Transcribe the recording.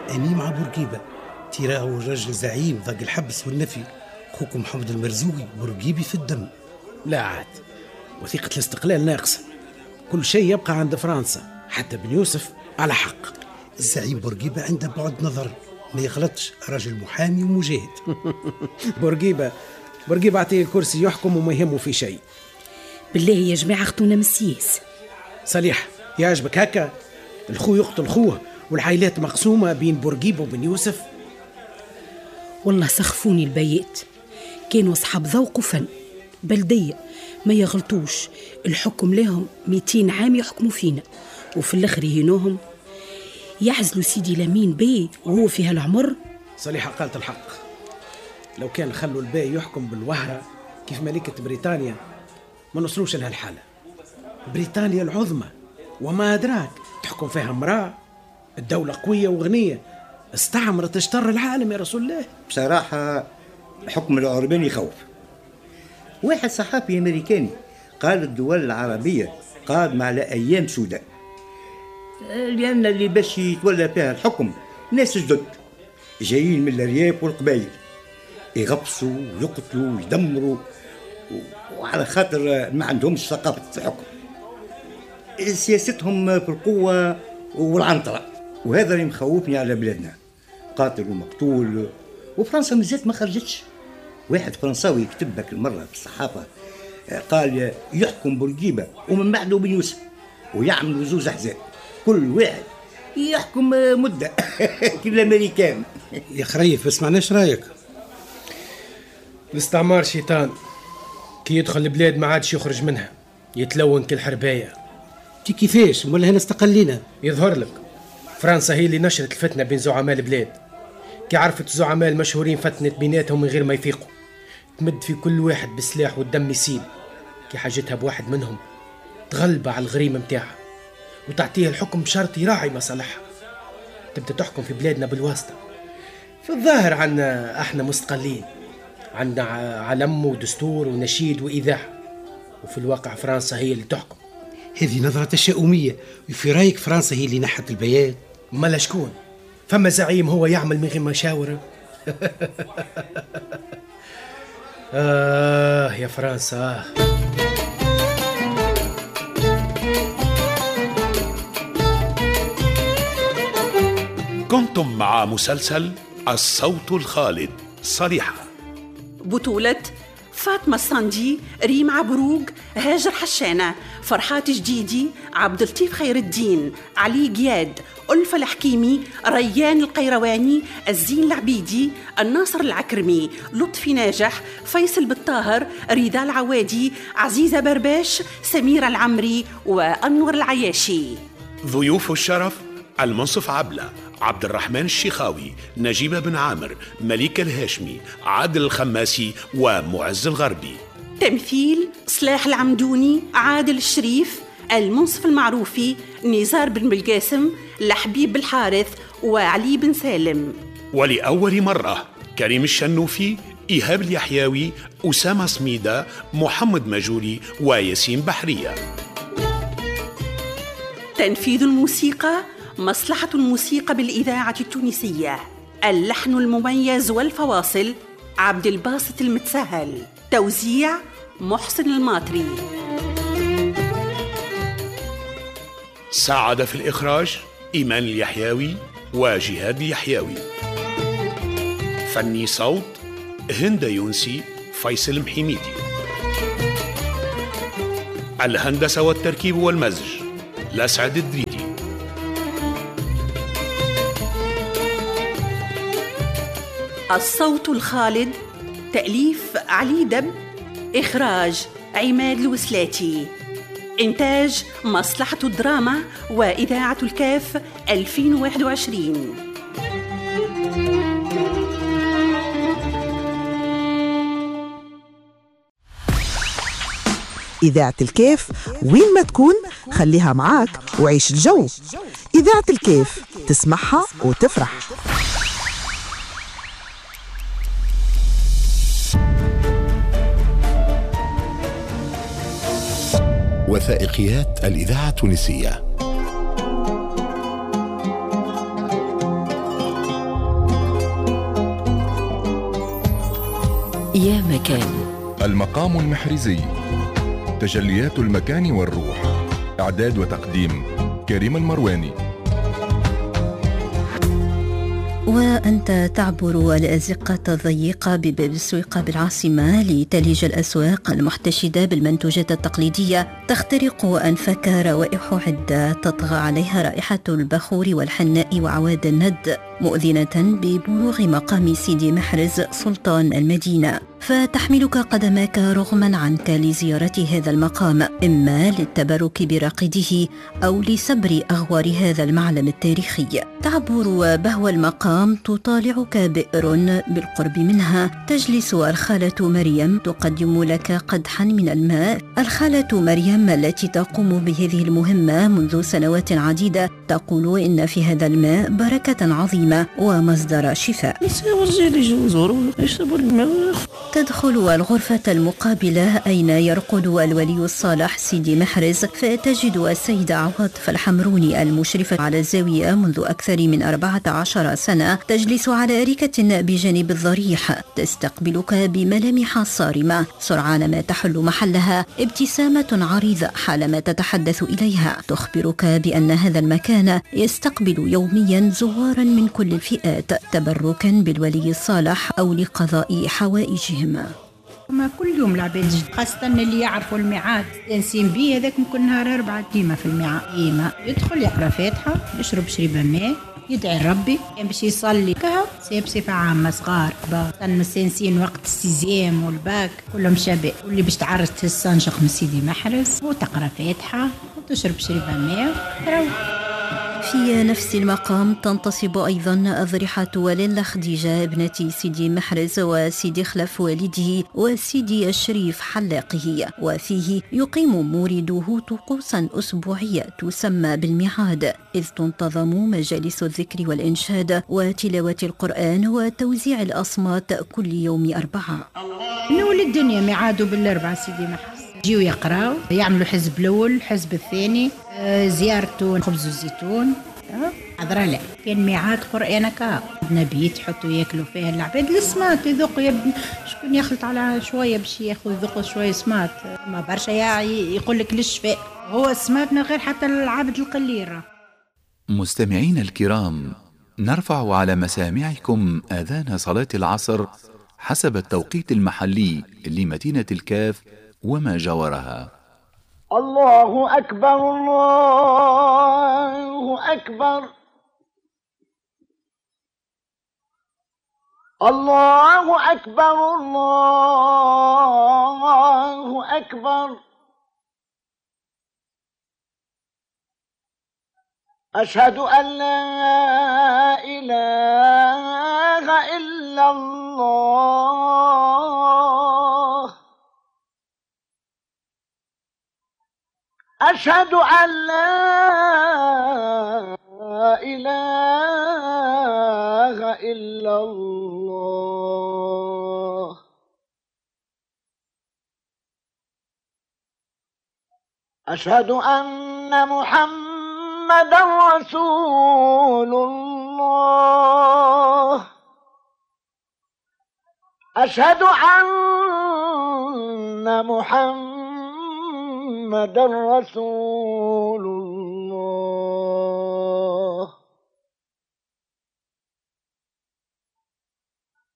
أني مع بورقيبة، تيراه الرجل زعيم ضاق الحبس والنفي. خوكم محمد المرزوقي بورقيبي في الدم. لا عاد، وثيقة الاستقلال ناقصة، كل شيء يبقى عند فرنسا، حتى بن يوسف على حق. الزعيم بورقيبة عنده بعد نظر، ما يغلطش، رجل محامي ومجاهد. بورقيبة عطية الكرسي يحكم وما يهمه في شيء. بالله يا جماعة اخطونا من السياسة. صليح يعجبك هكا؟ الخو يقتل خوه والعائلات مقسومة بين بورقيبة وبن يوسف. والله سخفوني البيات، كانوا أصحاب ذوق وفن، بلدية ما يغلطوش، الحكم لهم 200 عام يحكموا فينا، وفي الآخر يهينوهم، يعزلوا سيدي لمين بي وهو في هالعمر. صليحة قالت الحق، لو كان خلوا الباي يحكم بالوهرة كيف ملكة بريطانيا ما نوصلوش لهالحالة. بريطانيا العظمى وما أدراك، تحكم فيها امرأة، الدولة قوية وغنية، استعمرت اشتر العالم يا رسول الله. بصراحة حكم العربان يخوف. واحد صحافي أمريكاني قال الدول العربية قادمة على أيام سوداء، لأن اللي باش يتولى فيها الحكم ناس جدد جايين من الأرياف والقبائل، يغبصوا ويقتلوا ويدمروا، وعلى خاطر ما عندهمش ثقافة الحكم، سياستهم في القوة والعنطرة، وهذا اللي مخوفني على بلادنا، قاتل ومقتول. وفرنسا مازالت ما خرجتش. واحد فرنساوي كتب لك المرة في الصحافة قال يحكم بورقيبة ومن بعده بن يوسف، ويعملوا زوز أحزاب كل واحد يحكم مدة كل الأمريكان. يا خريف بس معناش رايك. الاستعمار شيطان، كي يدخل البلاد ما عادش يخرج منها، يتلون كل حرباية. تي كيفاش ولا هنا استقلينا؟ يظهر لك فرنسا هي اللي نشرت الفتنة بين زعماء البلاد، كي عرفت الزعماء المشهورين فتنت بيناتهم من غير ما يفيقوا، تمد في كل واحد بالسلاح والدم يسيل. كي حاجتها بواحد منهم تغلب على الغريم متاعها وتعطيه الحكم بشرط يراعي مصالحها. تبدأ تحكم في بلادنا بالواسطة. في الظاهر عنا احنا مستقلين، عندنا علم ودستور ونشيد وإذاعة، وفي الواقع فرنسا هي اللي تحكم. هذه نظرة تشاؤمية. وفي رأيك فرنسا هي اللي نحت البيات؟ مالا شكون؟ فما زعيم هو يعمل من غير مشاورة؟ آه يا فرنسا. كنتم مع مسلسل الصوت الخالد صليحة، بطولة فاطمة الصندي، ريم عبروق، هاجر حشانة، فرحات جديدي، عبد اللطيف خير الدين، علي جياد، ألفة الحكيمي، ريان القيرواني، الزين العبيدي، الناصر العكرمي، لطفي ناجح، فيصل بالطاهر، رضا العوادي، عزيزة برباش، سميرة العمري، وأنور العياشي. ضيوف الشرف المنصف عبلة، عبد الرحمن الشيخاوي، نجيبة بن عامر، مليكة الهاشمي، عادل الخماسي، ومعز الغربي. تمثيل صلاح العمدوني، عادل الشريف، المنصف المعروفي، نزار بن بالقاسم، لحبيب بالحارث، وعلي بن سالم. ولأول مرة كريم الشنوفي، إيهاب اليحيوي، أسامة صميدة، محمد مجوري، وياسين بحرية. تنفيذ الموسيقى مصلحة الموسيقى بالإذاعة التونسية. اللحن المميز والفواصل عبد الباسط المتسهل. توزيع محسن الماطري. ساعد في الإخراج إيمان اليحيوي وجهاد اليحيوي. فني صوت هند يونسي، فيصل محميدي. الهندسة والتركيب والمزج لسعد الدريدي. الصوت الخالد تأليف علي دب، إخراج عماد الوسلاتي، إنتاج مصلحة الدراما وإذاعة الكاف 2021. إذاعة الكاف وين ما تكون خليها معاك وعيش الجو. إذاعة الكاف تسمعها وتفرح. وثائقيات الإذاعة التونسية. يا مكان. المقام المحرزي، تجليات المكان والروح. إعداد وتقديم كريم المرواني. وأنت تعبر الأزقة الضيقة بباب السويقة بالعاصمة لتلج الأسواق المحتشدة بالمنتوجات التقليدية، تخترق أنفك روائح عدة تطغى عليها رائحة البخور والحناء وعواد الند، مؤذنة ببلوغ مقام سيدي محرز سلطان المدينة، فتحملك قدماك رغما عنك لزيارة هذا المقام، إما للتبرك براقده أو لسبر أغوار هذا المعلم التاريخي. تعبر بهو المقام تطالعك بئر بالقرب منها تجلس الخالة مريم تقدم لك قدحا من الماء. الخالة مريم التي تقوم بهذه المهمة منذ سنوات عديدة تقول إن في هذا الماء بركة عظيمة ومصدر شفاء. تدخل الغرفة المقابلة أين يرقد الولي الصالح سيدي محرز، فتجد السيدة عواطف الحمروني المشرفة على الزاوية منذ أكثر من 14 سنة تجلس على أريكة بجانب الضريح، تستقبلك بملامح صارمة سرعان ما تحل محلها ابتسامة عريضة حالما تتحدث إليها، تخبرك بأن هذا المكان يستقبل يوميا زوارا من كل الفئات تبركا بالولي الصالح أو لقضاء حوائجهم. ما كل يوم العباد، خاصة اللي يعرفوا الميعاد تنسين بيه هذاك كل نهار 4 ديما في الميعاد، ديما يدخل يقرا فاتحة، يشرب شريبة ماء، يدعي ربي، كان باش يصلي كها بصفة عامة، صغار كبار، مستانسين وقت ال sixième وال bac كلهم شباب، واللي باش تعرس تستنشق من سيدي محرز وتقرا فاتحة وتشرب شريبة ماء وتروح. في نفس المقام تنتصب أيضا أضرحة لاله خديجة ابنة سيدي محرز وسيدي خلف والده وسيدي الشريف حلاقه، وفيه يقيم مورده طقوسا أسبوعية تسمى بالميعاد، إذ تنتظم مجالس الذكر والإنشاد وتلاوة القرآن وتوزيع الأصمات كل يوم 4. نول الدنيا ميعاده بالأربعة سيدي محرز، يجيو يقراو، يعملوا حزب الأول حزب الثاني، زيارته خبز والزيتون، حضرة لا كان ميعاد قرآن كا نبيت يحطوا ياكلوا فيها العباد السمات يذوقوا، شكون يخلط على شوية باش ياخذ يذوقوا شوية سمات، ما برشا يقول لك للشفاء هو السمات من غير حتى العبد القليل. مستمعين الكرام، نرفع على مسامعكم آذان صلاة العصر حسب التوقيت المحلي لمدينة الكاف وما جاورها. الله أكبر الله أكبر الله أكبر الله أكبر، أشهد أن لا إله إلا الله، أشهد أن لا إله إلا الله، أشهد أن محمدا رسول الله، أشهد أن محمدا رسول الله.